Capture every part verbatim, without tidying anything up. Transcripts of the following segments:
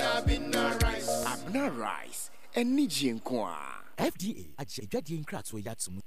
Abena, Abena rice. Abena rice, anigye nko a. F D A agye adwadie nkratoɔ yi ato mu.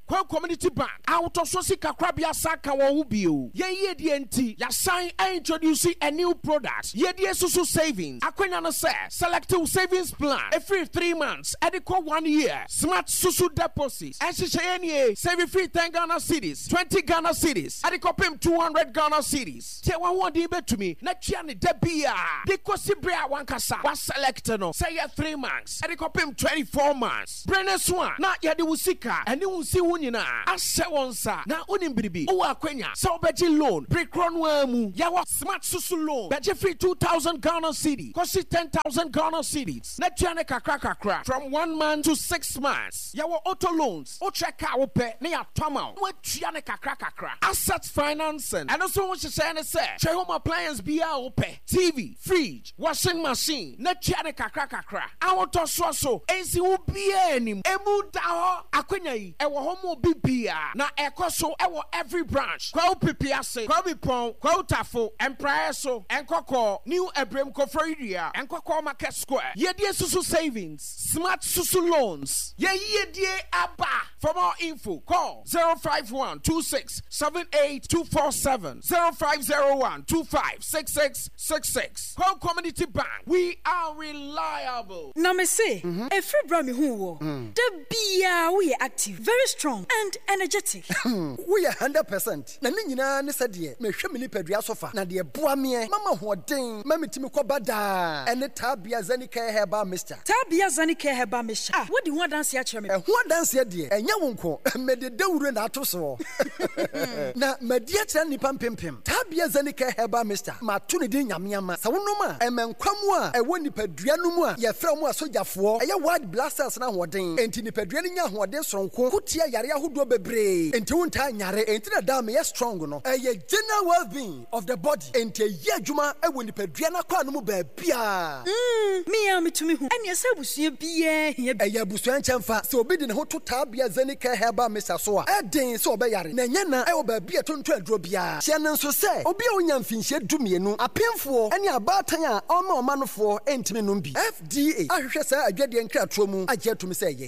Kwahu Community Bank ahotɔsoɔ sika korabea san ka wɔn ho bio. Yɛn yiedie nti, yɛasan introduce a new product, Yiedie Susu Savings. Akwanya no sɛ, select wo savings plan ɛfiri three months ɛde kɔ one year. Smart Susu Deposit ɛnhyehyɛeɛ nie: save firi ten Ghana cedis, twenty Ghana cedis ɛde kɔpem two hundred Ghana cedis. Tie, w'ahoɔden bɛtumi na tua ne da biaa de kɔsi berɛ a wankasa waselect no, sɛ yɛ three months ɛde kɔpem twenty-four months. Berɛ no so a na yɛde wo sika ɛne wo nsi ho nyinaa ahyɛ wɔn nsa. Na wonim biribi, wowɔ akwanya sɛ wobɛgye loan bere korɔ no ara mu. Yɛwɔ Smart Susu Loan, bɛgye firi two thousand Ghana cedi kɔsi ten thousand Ghana cedis na tua ne kakra kakra from one month to six months. Yɛwɔ auto loans, wokyerɛ kaa wopɛ ne yɛatɔ ama wo na woatua ne kakra kakra. Asset financing, ɛno nso ho nhyehyɛeɛ ne sɛ, hwɛ, home appliance biara a wopɛ, T V, fridge, washing machine, na tua ne kakra kakra. Ahotɔsoɔ so nsi ho biara anim, emu da hɔ. Akwanya yi ɛwɔ hɔ ma obi biara na ɛkɔ so ɛwɔ every branch: Kwahu Pipi Ase, Kwahu Bipɔn, Kwahu Tafo, Mpraeɛ so, Nkɔkɔɔ, New Ebrem, Koforidua, Nkɔkɔɔ Market Square. Yɛdie Susu Savings, Smart Susu Loans, yɛn yiedie aba. For more info, call zero five one two six seven eight two four seven, zero five zero one two five six six six six. Kwahu Community Bank, we are reliable. Na me se, ɛfiri berɛ a mehuu wɔ da biaa, woyɛ active, very strong and energetic. Woyɛ hundred percent, na ne nyinaa ne sɛdeɛ mehwɛ me nipadua so fa, na deɛ boa meɛ mama hoɔden ma metumi kɔba daa ɛne Taabea Zanicare Herbal Mixture. Taabea Zanicare Herbal Mixture a wodi ho adanseɛ akyerɛ me. Ɛho adanseɛ deɛ, ɛnyɛ wo nko, mede dawuro na ato soɔ na madi akyerɛ nnipa mpempem. Taabea Zanicare Herbal Mixture, mato ne din Nyame Ama. Sɛ wonom a, ɛmɛ nkwa mu a ɛwɔ nipadua no mu a yɛfrɛ mu asogyafoɔ, ɛyɛ white blood cells no ahoɔden. Enti nipadua no nya ahoɔden soronko ko tia yare ahodoɔ bebree, enti wontaa nyare. Enti na daa meyɛ strong no. Ɛyɛ general well-being of the body, enti ɛyɛ adwuma ɛwɔ nipadua no akwaa no mu baabiaa. Mm, me a metumi hu ɛneɛ sɛ abusua biaa hia bi. Ɛyɛ abusua nkyɛmfa. Sɛ obi de ne ho to Taabea Zanicare Herbal Mixture so a, ɛden sɛ ɔbɛyare, na ɛnyɛ na ɛwɔ baabi a ɛtontɔ aduro biara. Hyɛ no nso sɛ obi a onya mfinhyia du mmienu, apemfoɔ ne abaatan a ɔma ɔma nofoɔ ntumi nom bi. F D A ahwehwɛ saa adwadeɛ nkratoɔ mu agye atum sɛ ɛyɛ.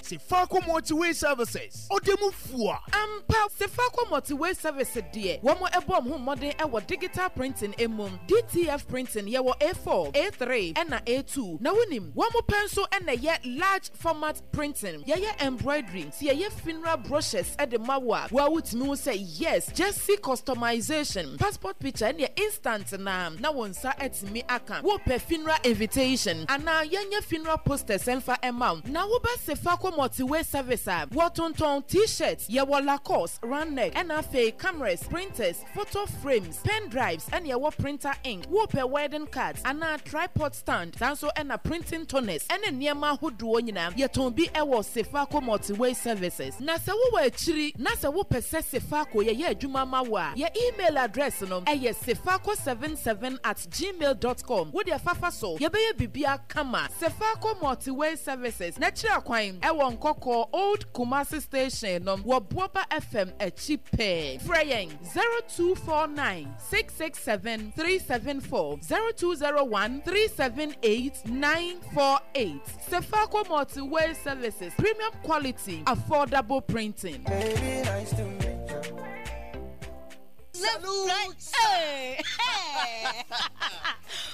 Sefaco Multiway Services, ɔde mu fua. Ampa, Sefaco Multiway Service deɛ, wɔn ɛbɔ wɔn ho mmɔden ɛwɔ digital printing emu, D T F printing. Yɛwɔ A four, A three ɛna A two. Na wonim wɔn pɛ nso ɛna ɛyɛ large format printing. Yɛyɛ embroidery, si yɛyɛ funeral brochures ɛde ma wo a wɔa wotumi ho sɛ yes, jersey customization, passport picture ɛne instant na na wɔn nsa ɛtumi aka. Wopɛ funeral invitation anaa yɛnyɛ funeral posters ɛmfa ɛma wo, na woba Sefaco Multiway Service a, wɔtontɔn T-shirt. Yɛwɔ Lacoste, round neck, ɛna afei cameras, printers, photo frames, pen drives, ɛna yɛwɔ printer ink. Wopɛ wedding cards anaa tripod stand, saa nso ɛna printing toners ɛne nneɛma ahodoɔ nyinaa, yɛtɔn bi ɛwɔ Sefaco Multiway Services. Na sɛ wowɔ akyiri na sɛ wopɛ sɛ Sefaco yɛyɛ adwuma ma wo a, yɛ email address no ɛyɛ sefaco seven seven at gmail dot com. Wode fafa so, yɛbɛyɛ biribiara kama. Sefaco Multiway Services n'akyiri akwan ɛwɔ Nkɔkɔɔ Old Kumasi Station no, wɔ Boaba F M akyi pɛɛ. Frɛ yɛn zero two four nine six six seven three seven four, zero two zero one three seven eight nine four eight. Sefaco Multiway Services, premium quality, affordable printing. Baby, nice to meet you. Left, right, hey, hey.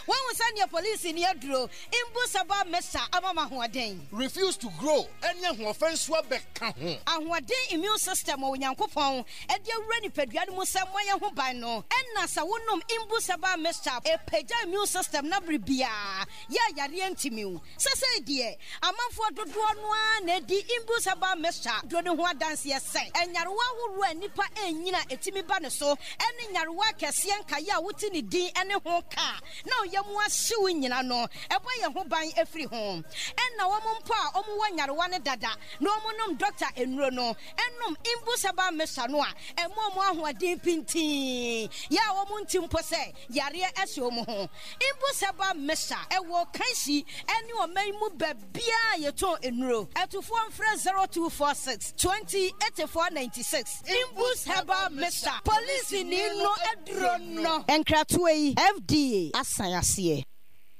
Wɔn sɛ neɛ polisi ni aduro Imbus Herbal Mixture ama ma ahoɔden. Refuse to grow ɛne ahoɔfɛ nso abɛka ho. Ahoɔden immune system wɔ Onyankopɔn ɛde awura nipadua no mu sɛ mmɔyɛ ho ban no, ɛna sɛ wonom Imbus Herbal Mixture, ɛpagya immune system na bere biara yɛ ayareɛ ntimiw. Sɛsɛi deɛ, amanfoɔ dodoɔ no ara na ɛdi Imbus Herbal Mixture duro no ho adanseɛ sɛ ɛnyarewa ahoroɔ a nnipa ɛnyina ɛtumi ba ne so, ɛne nyarewa akɛseɛ nkaeɛ a wote ne din ne ho kaa na ɔyɛ mu ahyew nyina no, ɛbɔ yɛn ho ban afiri ho. Ɛna wɔn mpo a wɔwɔ nyarewa no dada na wɔn nom dɔkta nnuro no, ɛnom Imbus Herbal Mixture no a, ɛmo wɔn ahoɔden pintii yɛ a wɔn nti mpo sɛ yareɛ ɛhyɛ wɔn ho. Imbus Herbal Mixture ɛwɔ Kanshi ɛne ɔman mu baabiara yɛtɔn nnuro. Ɛtufoɔ mfrɛ zero two four six twenty eighty four ninety six. Imbus Herbal Mixture, polisi. Bibini no aduro no. Nkratoɔ yi, F D A asan aseɛ.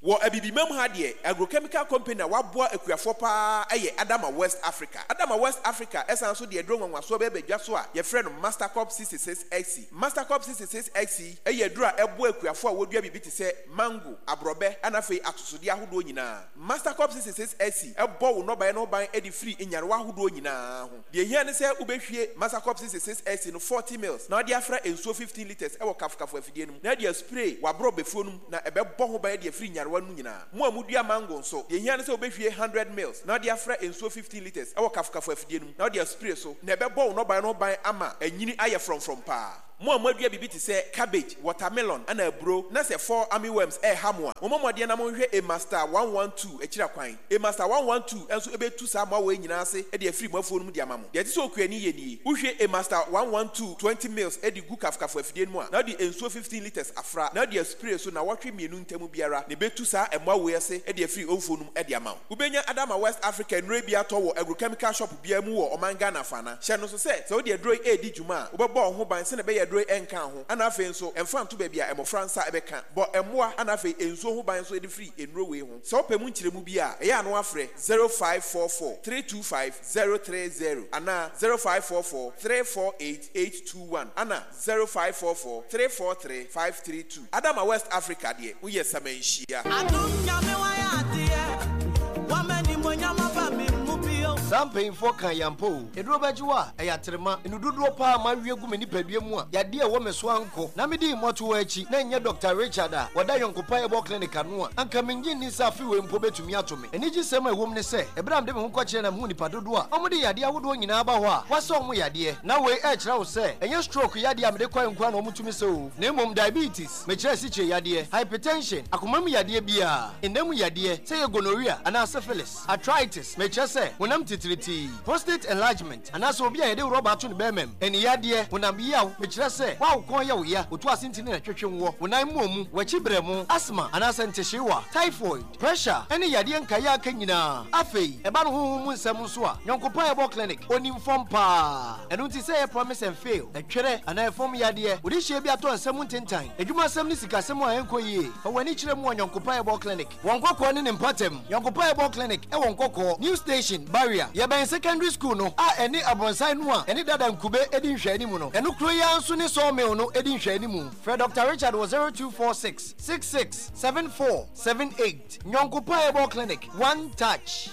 Wɔ Abibimam ha deɛ, agrochemical company a waboa akuafoɔ paa yɛ Adama West Africa. Adama West Africa ɛsan so de aduro nwanwasoɔ bɛɛ badwa so a yɛfrɛ no Mastercop sixty-six X C. Mastercop sixty-six X C ɛyɛ aduro a ɛboa akuafoɔ a wɔdua biribi te sɛ mango, aborɔbɛ, ɛna afei atosodeɛ ahodoɔ nyinaa. Mastercop sixty-six X C ɛbɔ wo nnɔbaeɛ no ho ban de firi nyarewa ahodoɔ nyinaa ho. Deɛ hia ne sɛ wobɛhwie Mastercop sixty-six X C no forty mils na wode afra nsuo fifteen litres ɛwɔ kafokafo afidie no mu na de aspray w'aborɔbɛfuo no mu na ɛbɛbɔ ho ban de afiri nyarewa no nyinaa. Mo a mudua mango nso, deɛ hia ne sɛ wobɛhwie hundred mils na wode afra nsuo fifteen litres ɛwɔ kafokafo afidie no mu na wode aspray so na ɛbɛbɔ wo nnɔbaeɛ no ho ban ama anyini ayɛ frɔmfrɔm paa. Mo a moadua biribi te sɛ cabbage, watermelon ana aburo na sɛ fall armyworms ɛɛha mo a, mommɔ mmɔden na monhwɛ Emaster one one two akyira kwan. Emaster one one two nso ɛbɛtu saa mmoawa yi nyinaa ase de afiri mo afuo no mu de ama mo. Deɛ ɛte sɛ okuani yɛ nie: wohwie Emaster one one two twenty mils de gu kafokafo afidie no mu a, na wode nsuo fifteen litres afra na wode aspray so na wɔtwe mmienu ntam biara na ɛbɛtu saa mmoawa yi ase de afiri mfuo no mu de ama wo. Wobɛnya Adama West Africa nnuro bi atɔ wɔ agrochemical shop biara mu wɔ ɔman Ghana fana. Hyɛ no so sɛ sɛ wode aduro yi ɛredi dwuma a, wobɛbɔ wo ho ban sɛnea ɛbɛyɛ aduro yi ɛnka ho, ana afei nso ɛmfa nto baabi a mmɔfra nsa ɛbɛka. Bɔ mmoa ana afei nsuo ho ban nso de firi nnuro wei ho. Sɛ wopɛ mu nkyerɛmu bi a, ɛyɛ ano afrɛ zero five four four three two five zero three zero anaa zero five four four three four eight eight two one ana zero five four four three four three five three two. Adama West Africa deɛ, woyɛ samanhyia. Adum Nyame wayɛ adeɛ wamani monyama ba me mu bio. Saa mpanyimfoɔ ka yampa o, ɛduro bɛgye wo a ɛyɛ aterema enu dodoɔ paa ma awie gu me nipadua mu a yadeɛ a ɛwɔ me so ankɔ na mede mmɔto akyi na ɛnyɛ Doctor Richard a wɔda Yɔnkopa Herbal Clinic ano a, anka mengye nni sɛ afe wei mpo bɛtumi ato me. Anigye sɛm a ɛwɔ mu ne sɛ ɛberɛ a mede me ho kɔkyerɛ na mehu nipa dodoɔ a ɔmode yadeɛ ahodoɔ nyinaa ba hɔ a wɔasɛ ɔmo yadeɛ na wei ɛkyerɛ wo sɛ ɛnyɛ stroke yadeɛ a mede kɔɛ nkoa na ɔmotumi sɛ o, na mmom diabetes, mekyerɛ asikyire yadeɛ, hypertension, akoma mu yadeɛ biara, ɛnam mu yadeɛ sɛ yɛ gonorrhea anaa syphilis, arthritis, mekyerɛ sɛ honam titiritii, prostate enlargement anaasɛ obi a yɛde rɔba ato ne bɛrima mu, ani yadeɛ, honam yaw, mekyerɛ sɛ woawo kɔn yɛ wo ya, otu ase ntini na twetwe woɔ, wo nan mmɔ mu, w'akyi brɛ mu, asthma anaasɛ ntehyeewa, typhoid, pressure ɛne yadeɛ nkaeɛ aka nyinaa. Afei ɛba no honhom mu nsɛm nso a, Yɔnkopa Herbal Clinic onim fam paa. Ɛno nti sɛ ɛyɛ promise and fail, ɛtwerɛ anaa ɛfam yadeɛ, wode hyia bi atɔ nsɛm ntentan, adwumasɛm ne sikasɛm a ɛnkɔ yie, fa w'ani kyerɛ mu wɔ Yɔnkopa Herbal Clinic wɔ Nkɔkɔɔ ne ne mpatam. Yɔnkopa Herbal Clinic ɛwɔ Nkɔkɔɔ New Station Barrier, yɛbɛn secondary school no a ɛne abrɔnsan no a ɛne dada nkube edi nhwɛanimu no. Ɛno kuro yi ara nso ne sawmill no edi nhwɛanimu. Frɛ Doctor Richard wɔ zero two four six six six seven four seven eight. Yɔnkopa Herbal Clinic, one touch.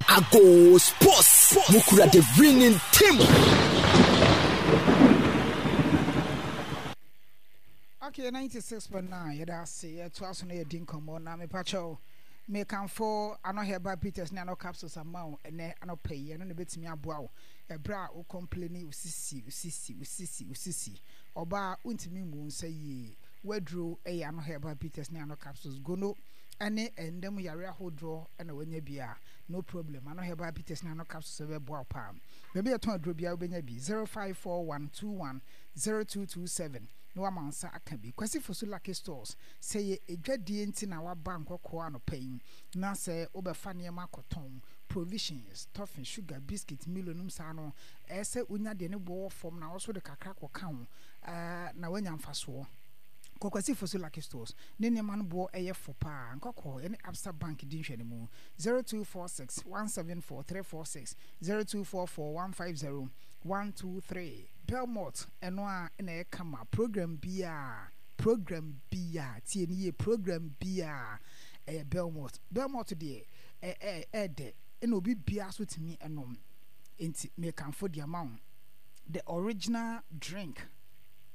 Ago Sports, mukura the winning team. Okay, ninety-six point nine, yɛda ase. Yɛtoa so no, yɛdi nkɔmmɔ na mepakyɛw mekamfo Ano Herbal Bitters ne Ano Capsules ama wo ɛnɛ anɔpa yi. Ɛno na ɛbɛtumi aboa wo ɛberɛ a wo complaini wo sisi, wo sisi, wo sisi, wo sisi. Ɔbaa wontumi mmu wo nsa yie, waduro ɛyɛ Ano Herbal Bitters ne Ano Capsules. Gono ɛne ɛnda mu yare ahodoɔ ɛna wanya bi a, no problem, Ano Herbal Bitters ne Ano Capsules ɛbɛboa wo paa. Baabi a yɛtɔn aduro biara wobɛnya bi. zero five four one two one zero two two seven na wama nsa aka bi. Kwasi Fosu Lucky Stores, sɛ yɛ edwadie nti na waba Nkɔkɔɔ anɔpa yi na sɛ wobɛfa nneɛma akɔtɔn, provisions, toffee, sugar, biscuit, Milo nom saa no, ɛyɛ sɛ wonya deɛ ne boɔ wɔ fam na wɔso de kakra kɔka ho ɛɛ na woanya mfasoɔ. Kɔkwasi Fosu Lucky Stores ne nneɛma no boɔ ɛyɛ fo paa. Nkɔkɔɔ yɛne Absa Bank di nhwɛ no mu. zero two four six one seven four three four six, zero two four four one five zero one two three. Belmont ɛno a ɛna ɛyɛ kama. Program biara, program biara, tie ne yie, program biara ɛyɛ Belmont. Belmont deɛ ɛ ɛ ɛɛdɛ ɛna obi biara so tumi ɛnom, nti mekanfo deɛ ama wo, the original drink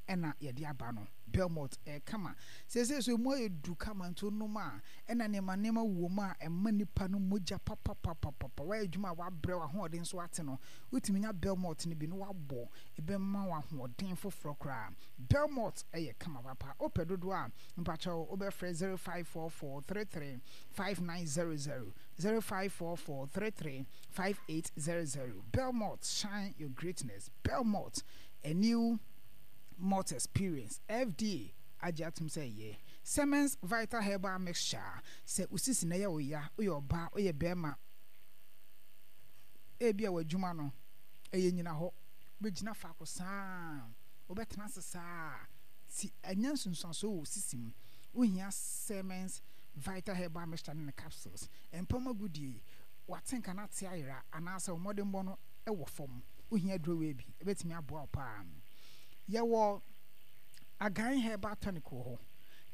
ɛna yɛde aba no. Belmont ɛyɛ kama seesei so, emu ayɛ du kama, nti onom a ɛna nneɛma nneɛma wɔ mu a ɛma nipa no mogya papapapapa. Wayɛ adwuma a wabrɛ, w'ahoɔden nso ate no, wotumi nya Belmont no bi na wabɔ, ɛbɛma w'ahoɔden foforɔ koraa. Belmont ɛyɛ kama papa. Wopɛ dodoɔ a, mpakyɛw wobɛfrɛ zero five four four three three five nine zero zero, zero five four four three three five eight zero zero. Belmont, shine your greatness. Belmont, a new malt experience. F D A agye atom sɛ ɛyɛ Siemens Vital Herbal Mixture. Sɛ osisi na ɛyɛ wo ya, woyɛ ɔbaa, woyɛ bɛrima, ebi a w'adwuma no ɛyɛ nyina hɔ, Wobɛgyina faako saa, wobɛtena ase saa, ti ɛnyɛ nsunsuansoɔ wɔ wo sisi mu. Wohia Siemens Vital Herbal Mixture ne ne capsules. Mpam agodie, w'atenka no ate ayera anaasɛ wo mmɔdenbɔ no wɔ fam. Wohia aduro wei bi, ɛbɛtumi aboa wo paa. Yɛwɔ Agan Herbal Tonic wɔ hɔ.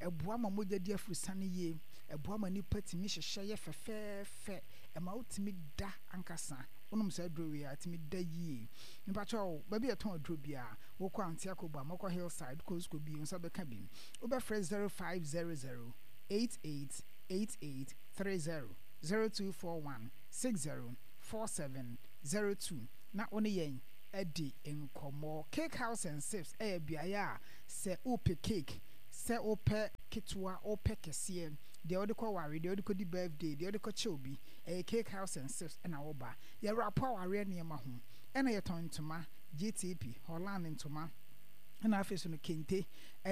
Ɛboa ma mogya di afurusane yie, ɛboa ma nipa tumi hyehyɛ yɛ fɛfɛɛfɛ, ɛma wotumi da ankasa. Wonom saa aduro wei a, ɛtumi da yie. Mepakyɛw, baabi a yɛtɔn aduro biara, wokɔ Antiakoba, mokɔ Hillside, wokɔ Cusco bi, wo nsa bɛka bi. Wobɛfrɛ zero five zero zero eight eight eight eight three zero, zero two four one six zero four seven zero two na wo ne yɛn adi nkɔmmɔ. Cake House and Sips yɛ beaeɛ a sɛ wopɛ cake, sɛ wopɛ ketewa, wopɛ kɛseɛ, deɛ wode kɔ ware, deɛ wode kɔdi birthday, deɛ wode kɔkyɛ obi, ɛyɛ Cake House and Sips na woba. Yɛwrapo awareɛ nneɛma ho, ɛna yɛtɔn ntoma, G T P, Holland ntoma, ɛna afei so no kente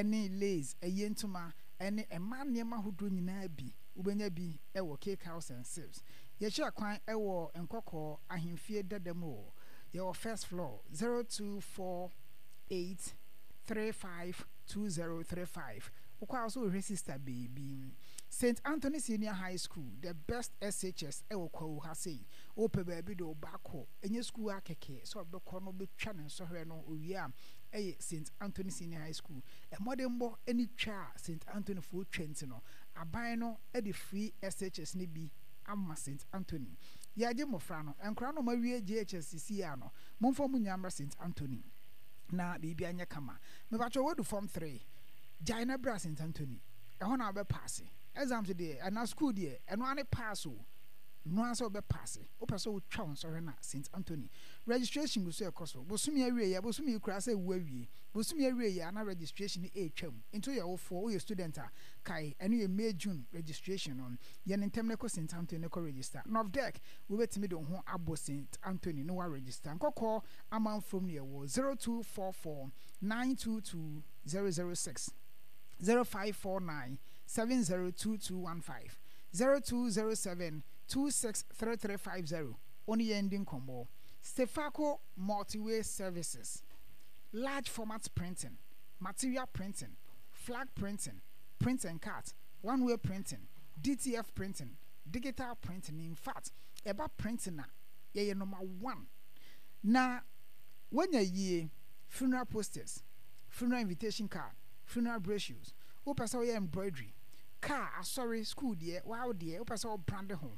ne lace, ayie ntoma ne mmaa nneɛma ahodoɔ nyinaa bi, wobɛnya bi wɔ Cake House and Sips. Yɛkyerɛ kwan wɔ Nkɔkɔɔ Ahemfie dada mu o. Yɛwɔ first floor, zero two four eight three five two zero three five. Wokɔ a wo so wohwɛ Sister Baby. Saint Anthony Senior High School, the best S H S ɛwɔ Kwawu ha sei. Wopɛ baabi de wo ba akɔ, ɛnyɛ school a kɛkɛ sɛ ɔbɛkɔ no bɛtwa ne nsɔhwɛ no owie a, ɛyɛ Saint Anthony Senior High School. Mmɔdenbɔ ne twa a Saint Anthony foɔ twa nti no, aban no de free S H S no bi ama Saint Anthony. Yɛagye mmɔfra no, nkwadaa no a wɔawie J H S seesei a no, momfa wɔn nyinaa mmra Saint Anthony na biribi anyɛ kama. Mepakyɛw, woadu form three, gyae na bra Saint Anthony. Ɛhɔ na wobɛpaase. Exams deɛ, anaa school deɛ, ɛno ara ne pass o. Ɛno ara sɛ wobɛpaase. Wopɛ sɛ wotwa wo nsɔhwɛ no a, Saint Anthony. Registration gu so ɛkɔ so. Bosome awieeɛ, bosome yi koraa sɛ ɛwu awie. Bosome awieeɛ a na registration no ɛretwam. Nti woyɛ wofoɔ, woyɛ student a, kae, ɛno yɛ May, June registration no. Yɛ no ntɛm na kɔ Saint Anthony na kɔ register. Novdec, wobɛtumi de wo ho abɔ Saint Anthony na woaregister. Nkɔkɔɔ Amanfrom no yɛwɔ zero two four four nine two two zero zero six, zero five four nine seven zero two two one five, zero two zero seven two six three three five zero. Wo ne yɛn di nkɔmmɔ. Stefaco Multiway Services, large format printing, material printing, flag printing, print and cut, one way printing, D T F printing, digital printing. In fact, ɛba printing a, yɛyɛ number one. Na woanya yie, funeral posters, funeral invitation card, funeral brochures, wopɛ sɛ woyɛ embroidery, car, asɔre, school deɛ, wow deɛ, wopɛ sɛ wo brand ho,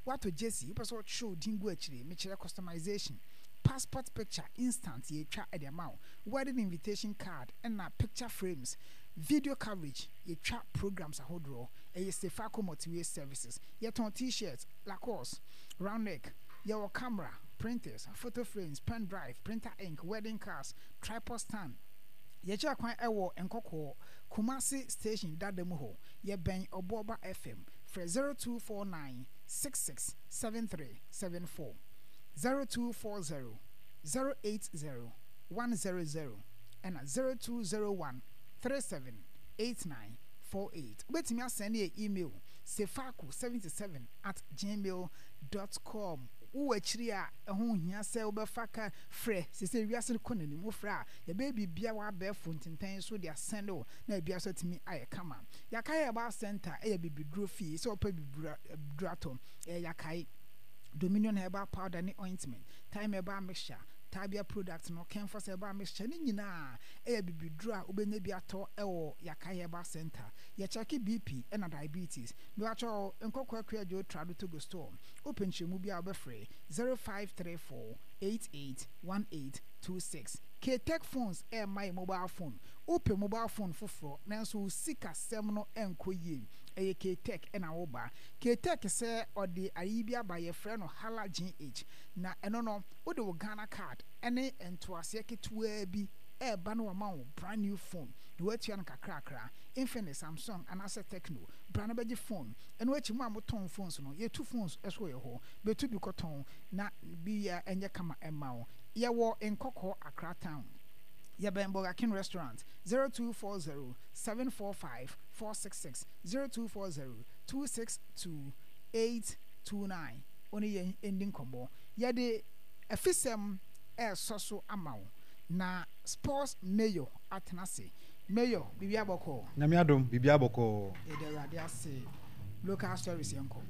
woatɔ jersey, wopɛ sɛ wotwerɛ wo din gu akyire, mekyerɛ customization, passport picture instant yɛtwa de ama wo, wedding invitation card ɛna picture frames, video coverage, yɛtwa programs ahodoɔ, ɛyɛ Stefaco Multiway Services. Yɛtɔn T-shirt, Lacoste, round neck, yɛwɔ camera, printers, photo frames, pen drive, printer ink, wedding cards, tripod stand. Yɛkyerɛ kwan ɛwɔ Nkɔkɔɔ, Kumasi Station dada mu hɔ. Yɛbɛn Ɔboɔba F M. Frɛ zero two four nine six six seven three seven four, zero two four zero zero eight zero one zero zero ɛna zero two zero one three seven eight nine four eight. Wobɛtumi asɛn yɛ email sefaco seventy-seven at gmail dot com. Wowɔ akyiri a ɛho hia sɛ wobɛfa ka frɛ sɛ wiase no kɔ n'anim, wofrɛ a yɛbɛyɛ biribia wɔ abɛɛfo ntentɛn so de asɛn wo na ebia so atumi ayɛ kama. Yakae Herbal Center ɛyɛ bibiduro fie. Sɛ wopɛ bibiduro atɔ, ɛyɛ Yakae Dominion Herbal Powder ne ointment, Thyme Herbal Mixture, Tabia product no, Kenfos Herbal Mixture ne nyinaa ɛyɛ bibiduro a wobɛnya bi atɔ ɛwɔ Yakae Herbal Center. Yɛkyɛke B P ɛna diabetes. Mewakyɛ Nkɔkɔ Akua Dwo Trado Togo store. Wopɛ nkyerɛmu bi a, wobɛfrɛ zero five three four eight eight one eight two six. Ktech Phones ɛɛma yɛ mobile phone. Wopɛ mobile phone foforɔ nanso wo sikasɛm no ɛnkɔ yie, ɛyɛ Ktech ɛna woba. Ktech sɛ ɔde ayi bi aba, yɛfrɛ no Hala G H, na ɛno no wode wo Ghana Card ɛne ntoaseɛ ketewaa bi ɛɛba no, wama wo brand new phone na woatua no kakrakra. Infinix, Samsung anaasɛ Tecno, bra no bɛgye phone. Ɛno akyi, mo a motɔn phones no, yɛtu phones ɛso yɛ hɔ, bɛtu bi kɔtɔn na bi yɛ ɛnyɛ kama ɛma wo. Yɛwɔ Nkɔkɔɔ, Accra Town, yɛbɛn Burger King restaurant. zero two four zero seven four five four six six, zero two four zero two six two eight two nine. Wo ne yɛn ndi nkɔmmɔ. Yɛde afisɛm ɛresɔ so ama wo. Na Sports Mayor atena ase. Mayor, biribiara bɔkɔɔ? Nyame adom, biribiara bɔkɔɔ. Yɛda Awurade ase. Local stories yɛnkɔ.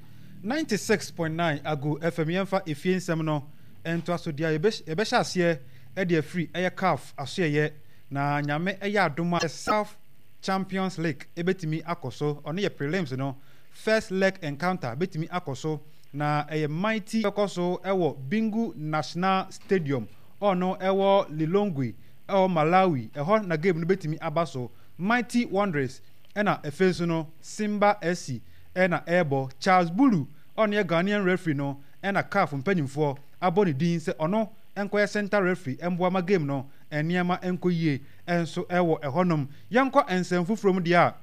Ninety six point nine Ago FM Yɛmfa efie nsɛm no ntoa so deɛ yɛbɛhyɛ aseɛ de afiri ɛyɛ CAF asoɛyɛ na Nyame yɛ adom a SAF Champions League bɛtumi akɔ so ɔno yɛ prelims no first leg encounter bɛtumi akɔ so na ɛyɛ Mighty bɛkɔ so wɔ Bingu National Stadium ɔno ɛwɔ Lilongwe ɛwɔ Malawi ɛhɔ na game no bɛtumi aba so Mighty Wanderers ɛna ɛfei nso no Simba S C ɛna ɛrebɔ. Charles Bulu a ɔno yɛ Ghanaian referee no ɛna CAF mpanyinfoɔ abɔ ne din sɛ ɔno nkɔyɛ center referee mboa ma game no nneɛma nkɔ yie nso ɛwɔ ɛhɔnom. Yɛnkɔ nsɛm foforɔ mu deɛ a,